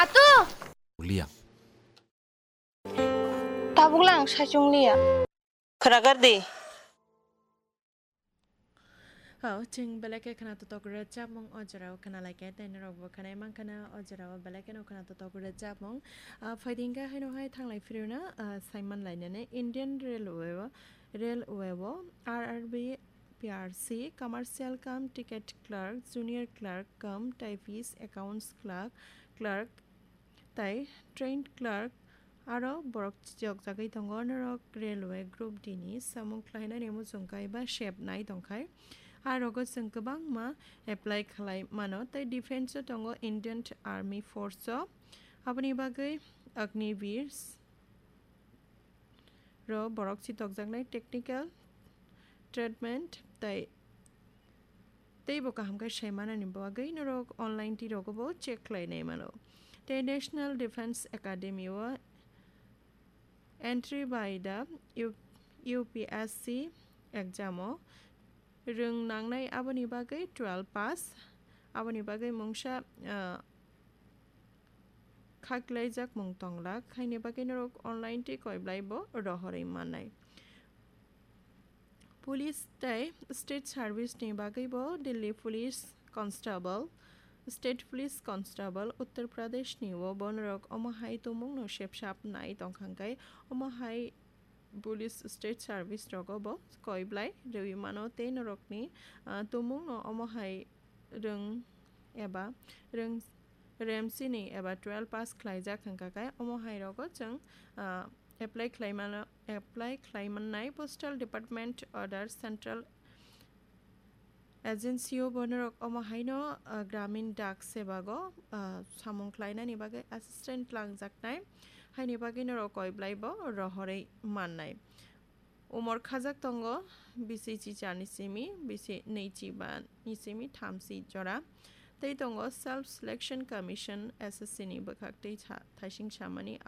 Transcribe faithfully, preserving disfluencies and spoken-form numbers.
Atu! Liya. Tabuk lang saichung liya. Khwnagar di. Oh, chwng belai khe khwna totok rwchapmung o jorao khwna lai khe, tei norok bo khwnai mankha na o jorao belai kheno khwna totok rwchapmung. Ah, phaidi hwnkhe haino hai thanglai phirwino, ah, saiman lainani Indian Railway o, Railway o R R B, P R C, Commercial cum Ticket Clerk, Junior Clerk cum Typist, Accounts Clerk, Clerk, tai Trained Clerk, aro borok chiyokjagwi tongo. Norok Railway Group D ni samung khlainani muchung kaiba sep nai tongkhai, a rogo chwng kwbangma apply khlai mano. Tai Defence o tongo, Indian Army Force o, aboni bagwi Agniveer ro borok chitokjaknai, Technical Treatment tai teibo kaham khe sai manani bagwi norok online twi rogo bo check khlai nai mano. Tei National Defence Academy o entry by the U-, U P S C exam o rwng nangnai, aboni bagwi twelve pass, aboni bagwi mungsa, ah, khaklaijak mung tonglak, haini bagwi norok online twi koiblai bo rohorwi mannai. Police tei state service ni bagwi bo Delhi Police Constable, State Police Constable, Uttar Pradesh ni o bo norok omo hai tumung no sepsap nai tongkha, hwnkhe omo hai Police State Service rogo bo koiblai rwi mano tei norokni, ah, tumung no omo hai rwng eba rwng remsini eba twelve pass khlaijak hwnkha khe omo hai rogo chwng, ah, apply khlai mano, apply khlai mannai. Postal Department order Central Agency o bo norok omo haino, ah, Gramin Dak Sebak o, ah, samung khlainani bagwi assistant langjaknai, haini bagwi norok koiblai bo rohorwi mannai. Umor khajak tongo bisi chichani simi, bisi nwi chiba ni simi thamsi jora. Tei tongo Self Selection Commission, S S C ni bwkhak tei tha-, thaising samani